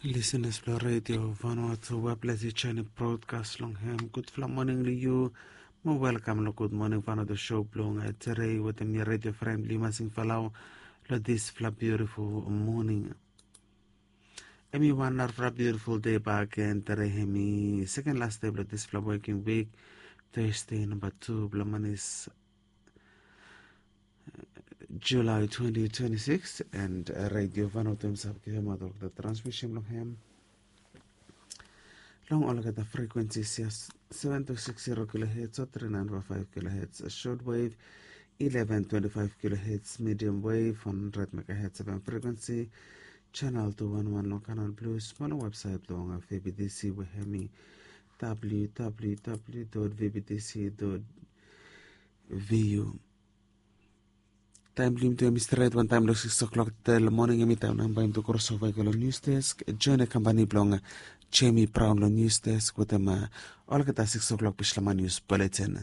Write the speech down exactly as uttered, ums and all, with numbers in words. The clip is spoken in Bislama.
Lisenas blong redio Vanuatu, we ples i joinim brodkas long hem. Gudfala moning long yu. Mo welkam long Gud Moning Vanuatu show blong tere wetem mi, redio fren blong yu, Masing Falau, long disfala biutiful moning. Em i wan narafala biutiful dei bak gen. Tere hem i seken las dei blong disfala woking wik, Thursday namba tu blong manis, July twenty twenty-six, and uh, Radio Vanuatu hemself givemaot olgeta transmission blong hem long olgeta frequencies ya, seven two six zero kilohertz o three nine five five kilohertz short wave, eleven twenty-five kilohertz medium wave, one hundred megahertz F M frequency, channel two one one long Canal Plus, mo long website blong V B T C we hem i W W W dot V B T C dot V U. Taem blong yumi tu hem i stret wantaem long six o'clock tel moning, hem i taem nao bae yumi tu krosova i go long news desk. Join e kampani blong Jamie Brown long news desk wetem olgeta six o'clock Bislama news bulletin.